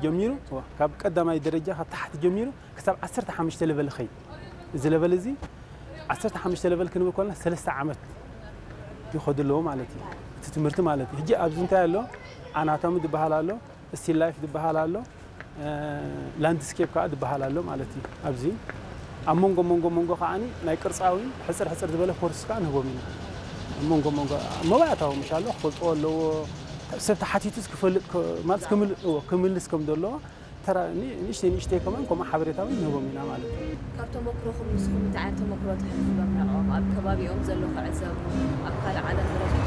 ጀሚሩ ካብ ቀዳማይ ደረጃ ካብ ታሕቲ ጀሚሩ ክሳብ ዓሰርተ ሓሙሽተ ለቨል ኸይድ። እዚ ለቨል እዚ ዓሰርተ ሓሙሽተ ለቨል ክንብል ከለና ሰለስተ ዓመት ይኸዱ ኣለዎ ማለት እዩ። እቲ ትምህርቲ ማለት እዩ። ሕጂ ኣብዚ እንታይ ኣሎ? ኣናቶሚ ዝበሃል ኣሎ፣ ስቲል ላይፍ ዝበሃል ኣሎ፣ ላንድስኬፕ ከዓ ዝበሃል ኣሎ ማለት እዩ። ኣብዚ ኣብ መንጎ መንጎ መንጎ ከዓ ናይ ቅርፃዊ ሕፅር ሕፅር ዝበለ ኮርስ ከዓ ንህቦም ኢና። ኣብ መንጎ መንጎ መባእታዊ ምሻሎ ክፈልጥዎ ኣለዎ። ሰብ ተሓቲቱስ ክፈልጥ ማለት ክምልስ ከም ዘለዎ ተራ ንእሽተይ ንእሽተይ ከማን ከምኡ ሓበሬታ እውን ንህቦም ኢና ማለት እዩ። ካብ ተመክሮኹም ንስኹም እንታይ ዓይነት ተመክሮ ተሕልፍሎም ንዕኦም ኣብ ከባቢኦም ዘሎ ክዕዘቡ ኣብ ካልእ ዓለም ዝረኽቡ